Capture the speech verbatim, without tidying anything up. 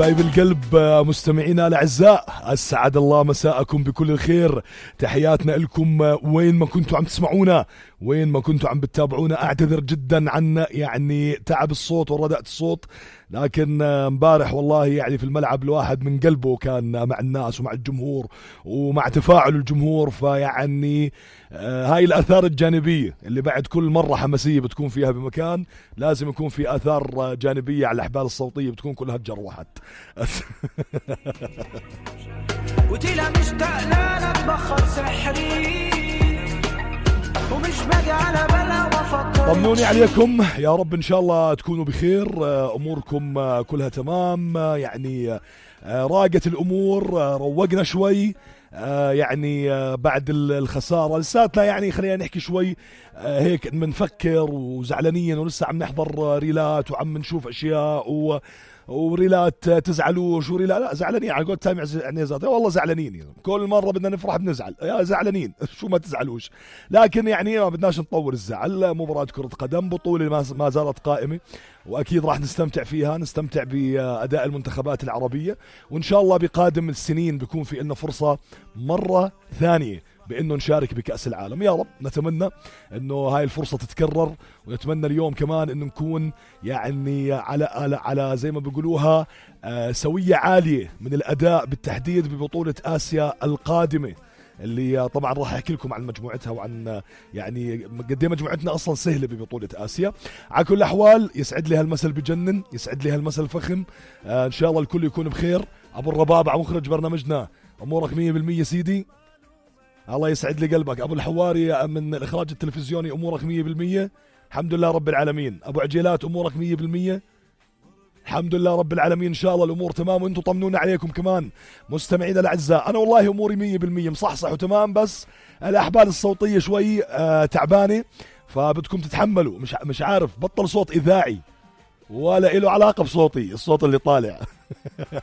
حبايب القلب مستمعينا الأعزاء، أسعد الله مساءكم بكل الخير. تحياتنا لكم وين ما كنتوا عم تسمعونا، وين ما كنتوا عم بتتابعونا. أعتذر جدا عن يعني تعب الصوت ورداءة الصوت، لكن امبارح والله يعني في الملعب الواحد من قلبه كان مع الناس ومع الجمهور ومع تفاعل الجمهور. فيعني آه هاي الآثار الجانبية اللي بعد كل مرة حماسية بتكون فيها بمكان لازم يكون في آثار جانبية على الأحبال الصوتية بتكون كلها تجروحت. وتلا مشتاق لا نتبخر سحري ومش باقي على بالها وفكر. طمنوني عليكم يا رب ان شاء الله تكونوا بخير، اموركم كلها تمام، يعني راقت الامور، روقنا شوي يعني بعد الخسارة لساتنا، يعني خلينا نحكي شوي هيك بنفكر وزعلانين ولسه عم نحضر ريلات وعم نشوف اشياء و وريلات تزعلوش وريلات لا زعلانين على قول تامع عنيزات، والله زعلانين كل مرة بدنا نفرح بنزعل، يا زعلانين شو ما تزعلوش، لكن يعني ما بدناش نطور الزعل. مباراة كرة قدم بطولة ما زالت قائمة وأكيد راح نستمتع فيها، نستمتع بأداء المنتخبات العربية، وإن شاء الله بقادم السنين بيكون في لنا فرصة مرة ثانية بأنه نشارك بكأس العالم. يا رب نتمنى أنه هاي الفرصة تتكرر، ونتمنى اليوم كمان أنه نكون يعني على على, على زي ما بيقولوها آه سوية عالية من الأداء، بالتحديد ببطولة آسيا القادمة اللي طبعا راح احكي لكم عن مجموعتها وعن يعني قد ايه مجموعتنا اصلا سهله ببطوله اسيا. على كل الاحوال يسعد لي هالمثل بجنن، يسعد لي هالمثل فخم. آه ان شاء الله الكل يكون بخير. ابو الربابع مخرج برنامجنا، امورك مية بالمية سيدي، الله يسعد لي قلبك. ابو الحواري من الاخراج التلفزيوني، امورك مية بالمية الحمد لله رب العالمين. ابو عجيلات امورك مية بالمية الحمد لله رب العالمين، ان شاء الله الامور تمام، وانتم طمنونا عليكم كمان مستمعينا الاعزاء. انا والله اموري مية بالمية مصحصح وتمام، بس الاحبال الصوتيه شوي آه تعبانه، فبدكم تتحملوا. مش مش عارف بطل صوت اذاعي ولا له علاقه بصوتي، الصوت اللي طالع